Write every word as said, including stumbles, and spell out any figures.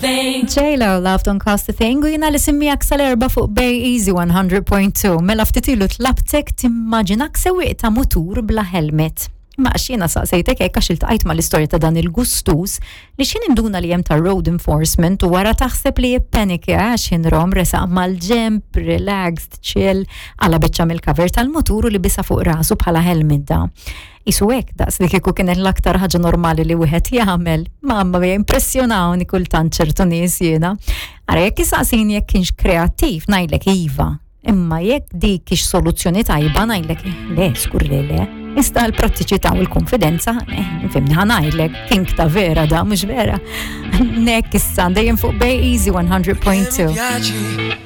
Thing. J-Lo, Love Don't Cost a Thing, u jiena l-isem miegħek sal-erbgħa fuq Bay Easy one hundred point two. Mela ftit ilu tlabtek timmaġinak sewwieq ta' mutur bla helmet. Ma għax jiena saqsejtek hekk għax iltqajt mal-istorja ta' dan il-gustus li x'ħin induna li hemm ta' road enforcement u wara taħseb li jippenika għax rom resaq mal-ġemp, relaxed, chill, qala' biċċa mill-cover tal-mutur u libisha fuq rasu bħala helmet da. Isu hekk daqs li kieku kienet l-aktar ħaġa normali li wieħed jagħmel. Mamma mia, impressjonawni kultant ċertu nies jiena. Ara, jekk isaqsini jekk kienx kreattiv, ngħidlek iva. Imma jekk dik kiex soluzzjoni tajba, ngħidlek le, skur li le. Iżda l-prattiċità u l-konfidenza, eh, fhimni, ħa ngħidlek, king ta' vera da, mhux vera. Nek issa, dejjem fuq Bay Easy one hundred point two. Piaci.